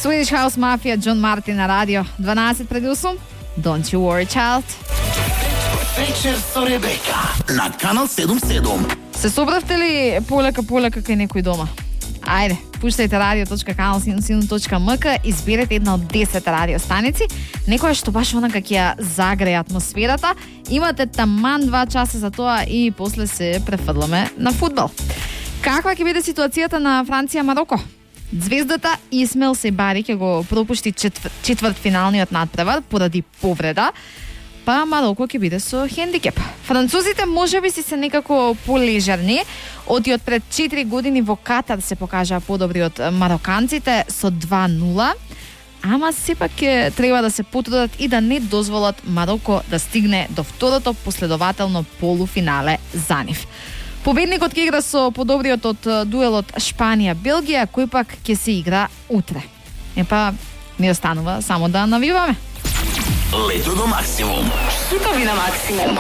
Swedish House Mafia, John Martin на радио 12 пред 8. Don't you worry, child. Вечер со Ребека на Канал 77. Се собравте ли полека кај некој дома? Ајде, пуштајте radio.kanal77.mk, изберете една од 10 радиостаници, некоја што баш онака ќе ја загрее атмосферата. Имате таман 2 часа за тоа и после се префрламе на фудбал. Каква ќе биде ситуацијата на Франција-Мароко? Звездата Исмел Себари ќе го пропушти четвртфиналниот надпревар поради повреда, па Мароко ќе биде со хендикеп. Французите можеби си се некако полежерни, оти од пред 4 години во Катар се покажаа подобри од мароканците со 2-0, ама сепак ќе треба да се потрудат и да не дозволат Мароко да стигне до второто последователно полуфинале за нив. Победникот ќе игра со подобриот од дуелот Шпанија-Белгија, кој пак ќе се игра утре. Епа, не останува само да навиваме. Лето до максимум. Хитови на максимум.